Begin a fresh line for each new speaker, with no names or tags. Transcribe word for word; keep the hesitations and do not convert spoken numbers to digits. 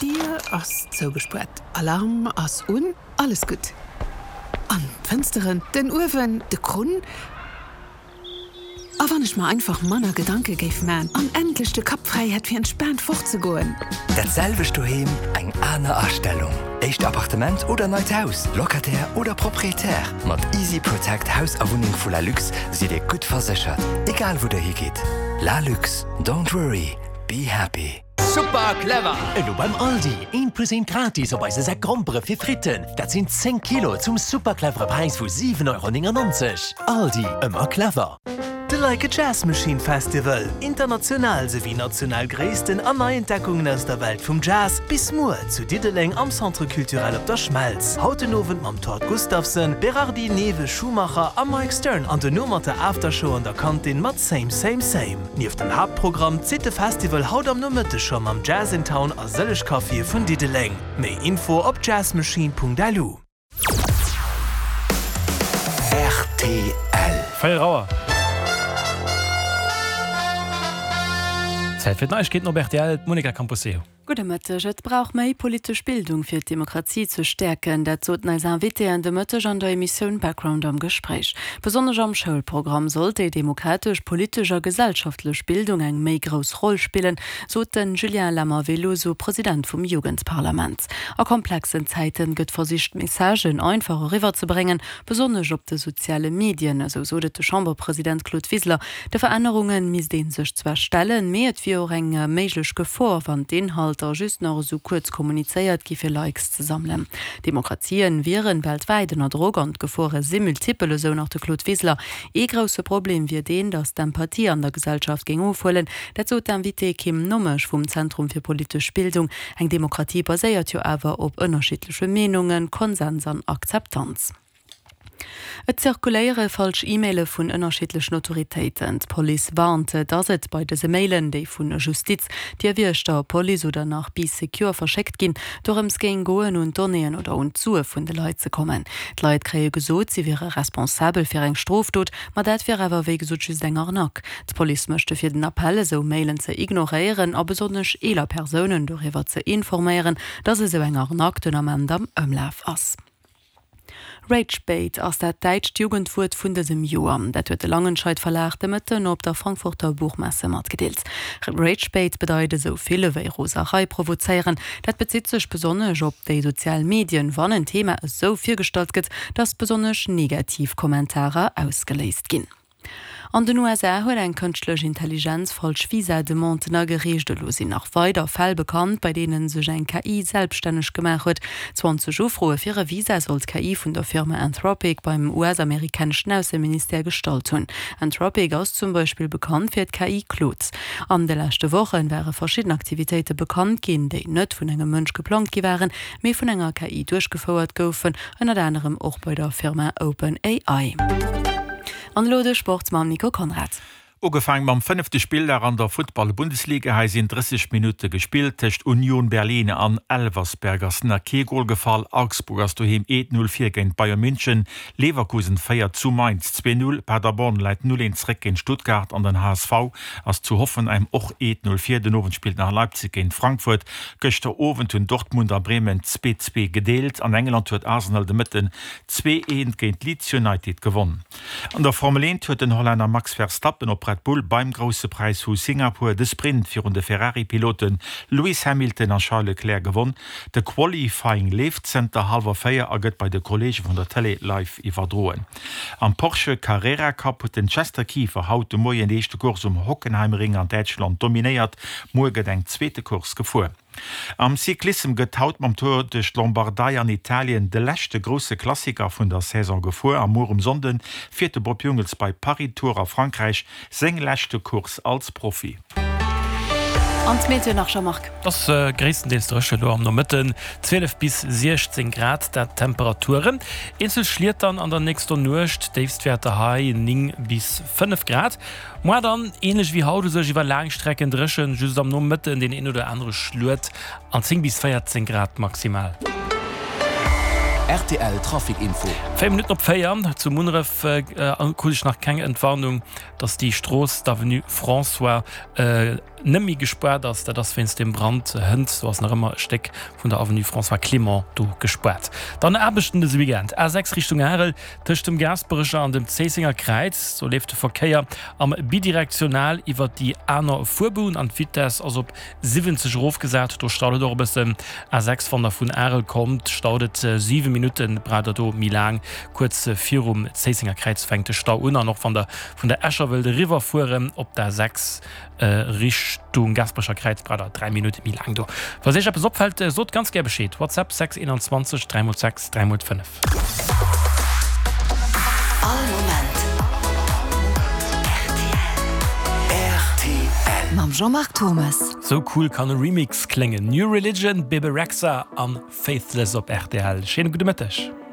D'Dier ass zougespuert, Alarm ass un, alles gutt. An d'Fënsteren, den Uewen, de Krunn. A wann ech mer einfach manner Gedanke géif man an endlech de Kapp fräi hätt fir entspaant fortzegoen.
Dat selwecht doheem, eng aner Astellung. Éischt Appartement oder neit Haus, Locataire oder Proprietär, mat Easy Protect Haus a Wunneng vu Lalux sidd Dir gutt verséchert, egal wou der higitt. Lalux, don't worry, be happy.
Super clever!
Elo beim Aldi, eent plus eent gratis op eise Säck Grompere fir Fritten. Dat sinn zéng Kilo zum super clevere Präis vu siwen Euro néngennonzeg. Aldi, ëmmer clever!
De Like a Jazz Machine Festival, international souwéi national Gréissten an Neientdeckungen aus der Welt vum Jazz, bis muer zu Diddeleng am Centre Culturel op der Schmelz. Haut den Owend mam Tord Gustavsen, Berardi, Neve, Schumacher a Mike Stern an duerno mat der Aftershow an der Kantin mat Same Same Same. Nieft dem Haaptprogramm zitt de Festival haut am Nomëtteg scho mam Jazz in Town a sëlleg Caféë vun Diddeleng. Méi Info op jazzmachine Punkt L U.
R T L.
Véier Auer. Zäit fir d'Neiegkeeten op R T L, d'Monica Camposeo.
Gudde Mëtteg. Et brauch méi politesch Bildung fir d'Demokratie ze stäerken. Dat soten eis Invitéen de Mëtteg an der Emissioun Background am Gespréich. Besonnesch am Schoulprogramm sollt déi demokratesch, politesch a gesellschaftlech Bildung eng méi grouss Roll spillen, sot den Julien Lammer-Veloso, President vum Jugendparlament. A komplexen Zäiten gëtt versicht Messagen einfach eriwwerzebréngen, besonnesch op de soziale Medien, esou sot et de Chamberpresident Claude Wiseler. De Verännerunge misst ee sech zwar stellen, mee et wier och eng méiglech Gefor, wann d'Inhalter just nach esou kuerz kommunizéiert gi fir Likes ze sammelen. Demokratien wieren weltwäit ënner Drock an d'Gefore si multipel, esou nach de Claude Wiseler. Ee grousse Problem wier deen, datt d'Empathie an der Gesellschaft géing ofhuelen. Dat sot d'Invitée Kim Nommesch vum Zentrum fir politesch Bildung. Eng Demokratie baséiert jo awer op ënnerschiddleche Meenungen, Konsens an Akzeptanz. Et zirkuléiere falsch E-Maile vun ënnerschiddlechen Autoritéiten. D'Police warnt, datt et bei dëse Mailen, déi vun Justiz, Dierwiechter, Police oder nach Bee Secure verschéckt ginn, dorëms géing goen un d'Donnéeën oder un d'Sue vun de Leit ze kommen. D'Leit kréie gesot, si wiere responsabel fir eng Strofdot, ma dat wier awer wéi gesot just eng Arnaque. D'Police mécht dofir den Appell, esou Mailen ze ignoréieren a besonnesch eeler Persounen doriwwer ze informéieren, datt esou eng Arnaque den Ament am Ëmlaf ass. Ragebait ass dat däitscht Jugendwuert vun dësem Joer. Dat huet de Langenscheidt Verlag de Mëtten op der Frankfurter Buchmesse matgedeelt. Ragebait bedeit esou vill ewéi Roserei provozéieren. Dat bezitt sech besonnesch op déi sozial Medien, wann en Thema esou virgestallt gëtt, datt besonnesch negativ Kommentarer ausgeléist ginn. An den U S A huet eng kënschtlech Intelligenz falsch Visa-Demanden agereecht. Elo sinn nach weider Fäll bekannt, bei deene sech eng K I selbstänneg gemaach huet. zwanzeg Ufroe fir e Visa soll d'K I vun der Firma Anthropic beim U S-amerikaneschen Ausseministère gestallt hunn. Anthropic ass zum Beispill bekannt fir d'K I Claude. An de leschte Woche ware verschidden Aktivitéite bekannt ginn, déi net vun engem Mënsch geplangt gi waren, mee vun enger K I duerchgefouert goufen, ënnert anerem och bei der Firma OpenAI. An elo de Sport mam Nico Konrad.
Ugefaangen mam fënnefte Spilldag an der Futtball-Bundesliga. Hei sinn drësseg Minutte gespillt. Tëscht Union Berlin an Elversberg ass nach kee Gol gefall. Augsburg ass doheem eent null vir géint Bayern München. Leverkusen féiert zu Mainz zwee null. Paderborn läit null eent zréck géint Stuttgart an den H S V ass zu Hoffenheim och eent null vir. Den Owend spillt nach Leipzig géint Frankfurt. Gëschter Owend hunn Dortmund a Bremen zwee zwee gedeelt. An England huet Arsenal de Mëtten zwee eent géint Leeds United gewonnen. An der Formel eent huet den Hollänner Max Verstappen op Red Bull beim Grousse Präis vu Singapur de Sprint virun de Ferrari-Pilote Lewis Hamilton a Charles Leclerc gewonn. De Qualifying leeft zënter hallwer véier a gëtt bei de Kolleege vun der Tëlee live iwwerdroen. Am Porsche Carrera Cup huet den Chester Kieffer haut de Moien déi éischte Course um Hockenheimring an Däitschland dominéiert. Muer gëtt eng zweete Course gefuer. Am Cyclissem gëtt haut mam Tour duerch d'Lombardei an Italien de leschte grousse Klassiker vun der Saison gefuer. A muer um Sonnde fiert de Bob Jungels bei Paris-Tours a Frankräich seng leschte Course als Profi.
An d'Meteo nach, Jean-Marc.
Et ass gréisstendeels dréchen elo am Nomëtten, zwielef bis siechzéng Grad dat d'Temperaturen. Eenzel Schliet dann an der nächster Nuecht, Déifstwäerter hei néng bis fënnef Grad. Moar dann änlech wéi haut u sech iwwer laang Strecken dréchen, just am Nomëtten deen een oder anere Schluet an zéng bis véierzéng Grad maximal.
R T L Trafic Info.
Véier Minutten op véier. Zu Munneref krut ech nach keng Entwarnung, dass déi Strooss, d'Avenue François net méi gespaart ass, dat ass wéinst dem Brand hënt. Do ass nach ëmmer e Stéck vun der Avenue François Clément do gespaart. Dann Aarbechten dëse Weekend, A sechs Richtung Arel, tëscht dem Gaasperecher an dem Zéissenger Kräiz. Do leeft de Verkéier am bidirektional iwwert déi aner Fuerbunn an d'Vitess ass op siwwenzeg erofgesat. Do staut et och e bëssen. A sechs, wann der vun Arel kommt, staut et siwe Minutten, braucht der do méi laang. Kuerz virum Zéissenger Kräiz fänkt de Stau un an och wann der vun der Escher wëllt eriwwer fueren op der A sechs Richtung Gaasperecher Kräiz braucht der dräi Minutte méi laang do. Falls iech eppes opfält, sot ganz gär Bescheed. WhatsApp sechs einundzwanzeg dräi mol sechs dräi mol fënnef.
All Moment rtl.
Mam Jean-Marc Thommes.
Sou cool kann e Remix kléngen, New Religion, Bebe Rexha an Faithless op rtl. Schéine gudde Mëtteg.